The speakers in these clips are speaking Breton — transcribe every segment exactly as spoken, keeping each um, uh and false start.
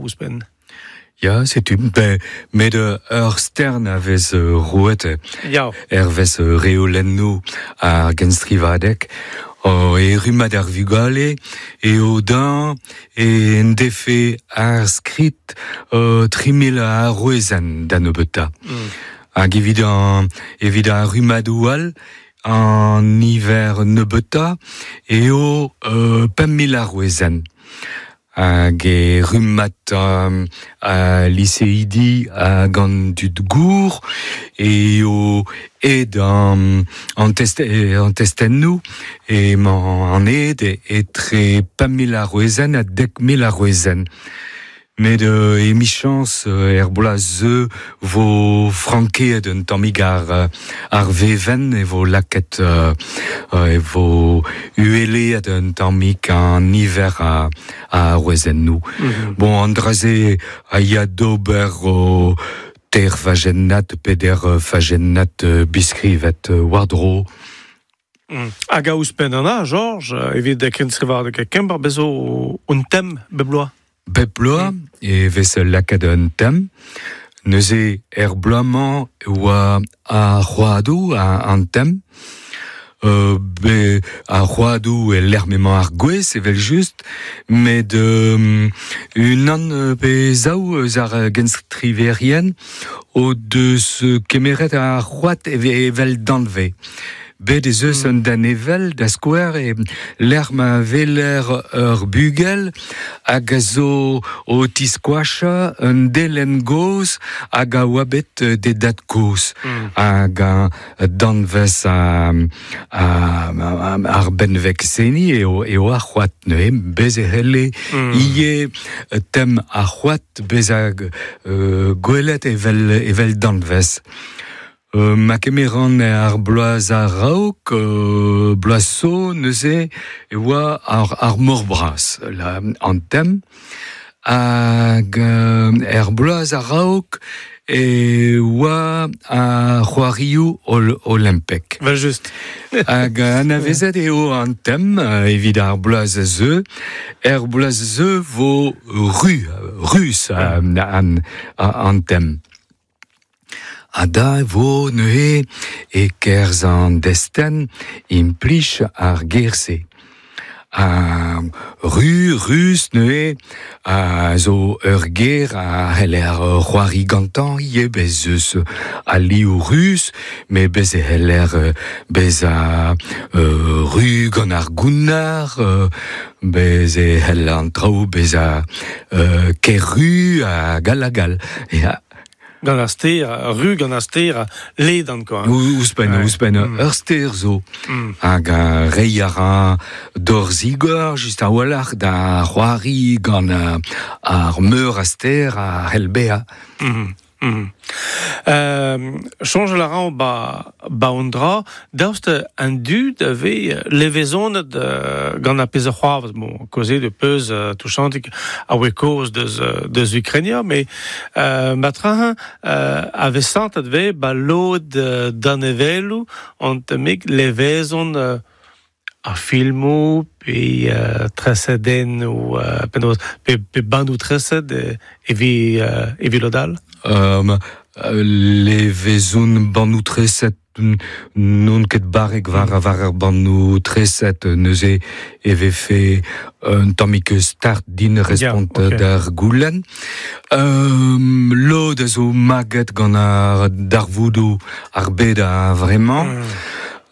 ouzhpenn. Ya, setu, ben, met ur stern a vez roet Ya. Hervez reolennoù ar genstrivadeg, o e rummad ar vugale e o dañ e en defe ar skrid uh, tri mil arouezenn da nebeutañ. Mm. Hag evit an, evit ar rummadoù all, an niver nebeutañ eo uh, pemp mil arouezenn. Hag e rummad um, a liseidi hag an dud gour eo ed an, an, test, an testennoù emañ an ed etre pemp mil arouezenn ha dek mil arouezenn. Met euh, emichañs euh, er bloaz ze vo frankeet un tammig ar, ar vevenn e vo laket euh, e vo ueleet un tammig an niver a, a arouezennoù. Mm-hmm. Bon, an dra-se a ya d'ober o ter fajennat, peder fajennat biskrivet war-dro. Mm. Hag a ouzhpenn an a, Georges, evit kenstrivadeg Kemper bezo un tem bep bloaz. Bep bloaz e vez lakaet un tem. Neuze er bloaz-mañ oa ar c'hoadoù an tem. Euh, be ar c'hoadoù e lec'h m'emañ ar gwez evel just, met euh, unan pe zaou eus ar genstriverien o deus kemeret ar c'hoad evel danve. Bet ez eus un danevel da skouer e lec'h ma veler ur bugel hag a zo o tiskoachañ un delenn gozh hag a oa bet d'e dad kozh. Mm. Hag a danvez a, a, a, ar benveg seni eo, eo ar c'hoad neuze bez e c'helle mm. ivez tem ar c'hoad bezañ euh, gwelet evel, evel danvez. Euh, ma kemeran ar bloaz a-raok, euh, bloaz zo neuze e oa ar, ar mor bras, la, an tem. Hag euh, er bloaz a-raok e oa ar c'hoarioù ol, olimpek. Vel just. Hag anavezet eo an tem evit ar bloaz a zeu. Er bloaz a zeu vo ru, rus an, an, an tem. Ha da vo neuze e kerzh an destenn implij ar ger-se. A ru, rus neuze a zo ur ger a c'heller c'hoari gantañ ivez bez eus al liv rus, met bez e c'heller bezañ euh, ru gant ar gounnar, euh, bez e c'hell an traoù bezañ euh, ker-ru hag all hag all. Ya. Gant ar ster, ru gant ar ster, ledan, quoi. Ouzhpenn, Ouais. ouzhpenn, Mm. ur ster zo. Mm. Hag a reiñ a ra d'ur zigor, just a-walc'h, da c'hoari gant ar meur a ster a c'hell bezañ. Mm. Mm. Euh, soñjal a ran ba, ba un dra, daoust an dud a vez levezonet euh, gant ar pezh a c'hoarvez, bon, kaozeet de peus euh, touchantik a oe kaoz deus, deus Ukrainia, mais euh, matrañ euh, a vez santet vez ba lod euh, danevelloù an tammig levezon euh, ar filmoù pe euh, tresadennoù euh, penaos pe, pe bandoù treset evit euh, evit lod all. Um, levezon bannoù treset n'on ket barrek war war ar bannoù treset neuze e vefe un tammig start din respont Yeah, okay. d'ar goulenn. Um, lod a zo maget gant ar darvoudoù ar bed a vremañ. Mm.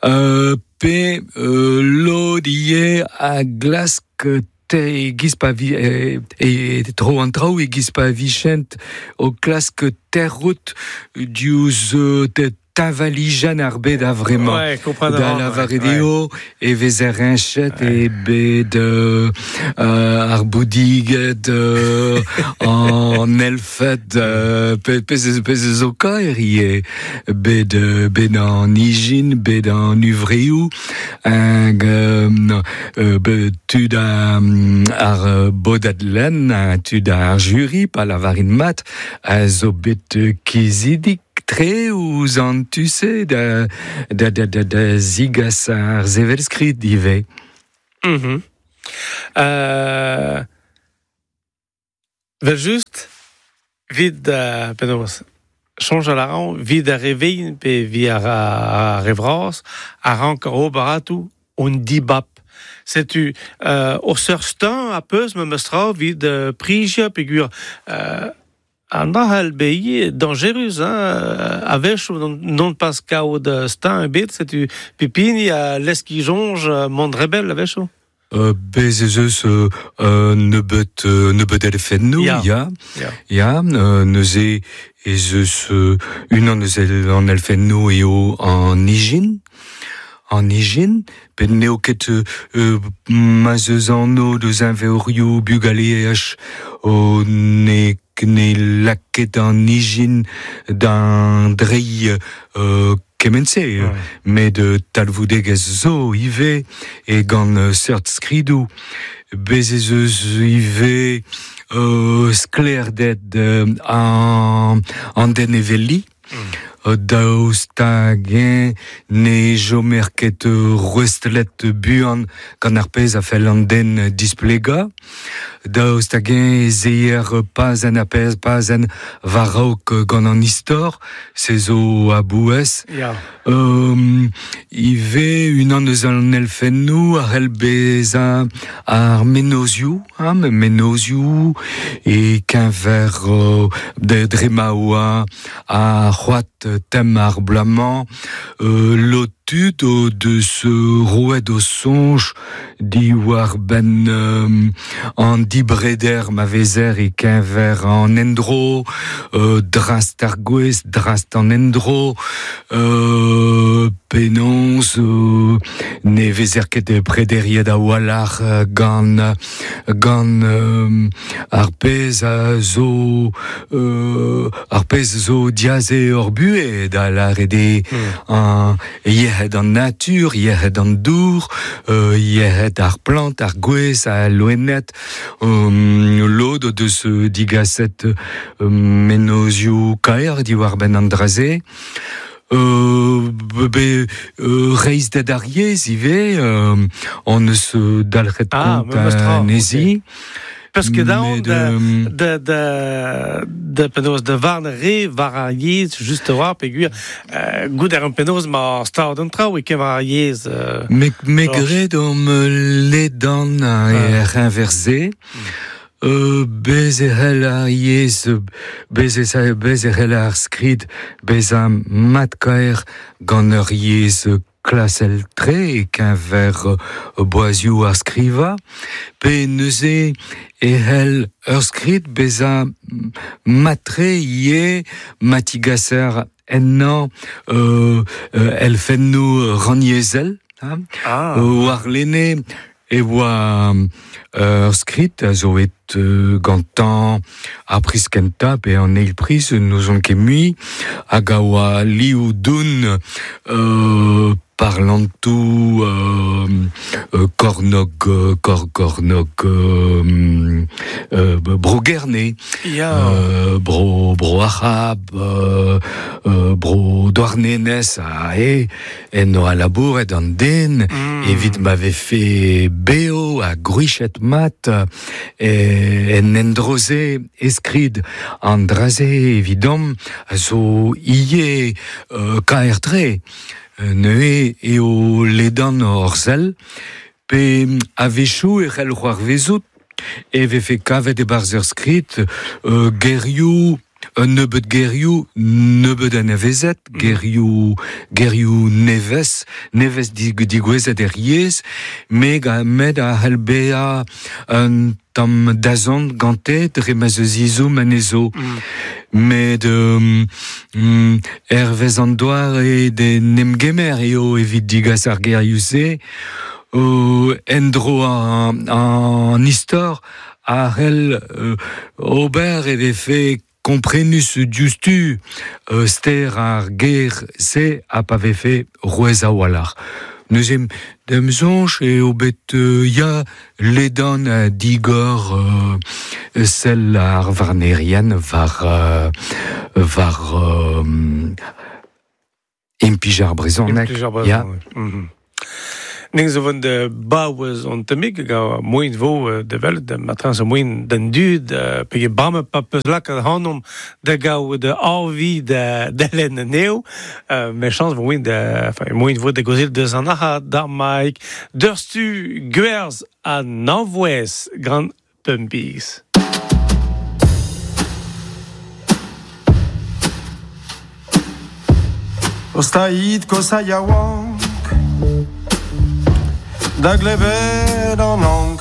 Euh, pe euh, lod ivez a glask te e-giz pa vi e, e tro an traoù e-giz pa vichent o klask terrout diouzh te teñvalijenn ar bed a vremañ. Ouais, kompren a Da ran, lavaret ouais. eo e vezer riñchet e bet euh, euh, ar boudiged euh, an elfed euh, pe, pezh pezh zo kaer ivez bet euh, bet an ijin, bet an uvreoù hag euh, euh, bet tud a, ar bodad lenn, tud ar jury, pa lavarin mat, a zo bet kizidik tre ouzh an tu-se da, da, da, da, da zigas ar sevelskrid ivez. Mm-hmm. Euh, Vel just, vid, uh, penaos, soñj a ran, vid ar revein pe vi ar, ar revraz, a rank ar ober on dibab. Setu, euh, o seur stin a peus me meustra vid euh, prija pegur euh, an dra be dangerus, hein, a wech non, non pas kaout stin ebet, setu pepini a leski jonge mont rebel a wecho. Euh, bez ez eus euh, euh, nebeut, euh, nebeut elfennoù, ya, ya, ya, euh, neuze ez eus euh, unan eus an elfennoù eo an ijin, an ijin, pet n'eo ket euh, ma'z eus anv deus inveorioù bugaleaj o ne ne laket an ijin d'an drei euh, kementse, ouais. Met euh, talvoudegezh zo ivez e gant euh, seurt skridoù. Bez ez eus ivez euh, sklaerded euh, an, an den evelli. Mm. Daoust hag-eñ ne jomer ket rouestlet buan gant ar pezh a fell an den displegañ. Daoust hag-eñ ez eer pas en a pezh, pas en war-raok gant an istor, se zo a-bouez. Ya. Euh, ivez unan eus an elfennoù a c'hell bezañ ar menozioù, hein, menozioù e keñver euh, de dre ma oa ar c'hoad tem ar bloaz-mañ, euh, lotud o deus roet o soñj diwar ben euh, an dibreder ma vezer e keñver an endro, euh, drast ar gwez, drast an endro, euh, penaos euh, ne vezer ket prederiet a-walc'h gant, gant euh, ar pezh a zo euh, ar pezh zo diaze ur buhez da lâret eo mm. an yec'hed an natur, yec'hed an dour, euh, yec'hed ar plant, ar gwez, ar loened, um, lod o deus digaset euh, menozioù kaer diwar benn an dra-se. Euh, be, euh, reizhded ar yezh ivez, euh, on eus dalc'het ah, kont anezhi. Okay. Parce que daon de, de, de, de penaos de varn re war ar yezh just a-walc'h peogwir euh, gout ar an penaos ma stad an traoù e ket war ar yezh. Euh, me, me gred om ledan er inversé. Euh, bez e c'hell ar yezh, bez e, bez e c'hell ar skrid, bezañ mat-kaer gant ur yezh klasel tre e keñver boazioù ar skrivañ, pe neuze e c'hell ur skrid bezañ mat-tre ivez ma tigaser ennañ euh, euh, elfennoù rannyezhel, hein, ah. war lene e oa ur skrid a zo et euh, gantañ ar priz kentañ pe an eil priz n'ouzon ket mui, hag a oa liv doun euh, parlantoù euh, euh, kornog, kor, kornog euh, euh, bro Gerne, ya. euh, bro, bro Arab, euh, euh, bro Douarnenez, a e, en oa labouret an den, mm. evit ma vefe beo ha gwrichet mat, e, en endroze eskrid an dra-se evidomp a zo ivez euh, kaer-tre. Neuze eo ledan hor sell, pe a-wechoù e c'hell c'hoarvezout e vefe kavet e-barzh ur skrid euh, gerioù, un nebeud gerioù, nebeud anavezet, mm. gerioù, gerioù nevez, nevez digouezet er yezh, met met a c'hell bezañ un tamm dazont gante dre ma'z eus ezhomm anezho. Mm. Met euh, mm, hervez an doare d'en em gemer eo evit digas ar gerioù-se, euh, endro an, an istor a c'hell euh, ober e vefe komprenus diouzhtu euh, ster ar ger se ha pa vefe rouez a-walc'h. Neuze d'am soñj eo bet euh, ya ledan a digor euh, sell ar varnerien war, euh, war euh, implij ar brezhoneg. Implij ar brezhoneg. Ya. Mm-hmm. Ning zo vant de baouez an temik ga moin vo de vel de matran zo moin den dud pe bamme pa peus lak hanom de gao de arvi de de len neo me chans vo moin de enfin moin vo de gozil de an aha d'ar maik deurstu gwerz a nanvouez gant pumpiz. Ostaïd kosa yaouank Da glebet an ankou.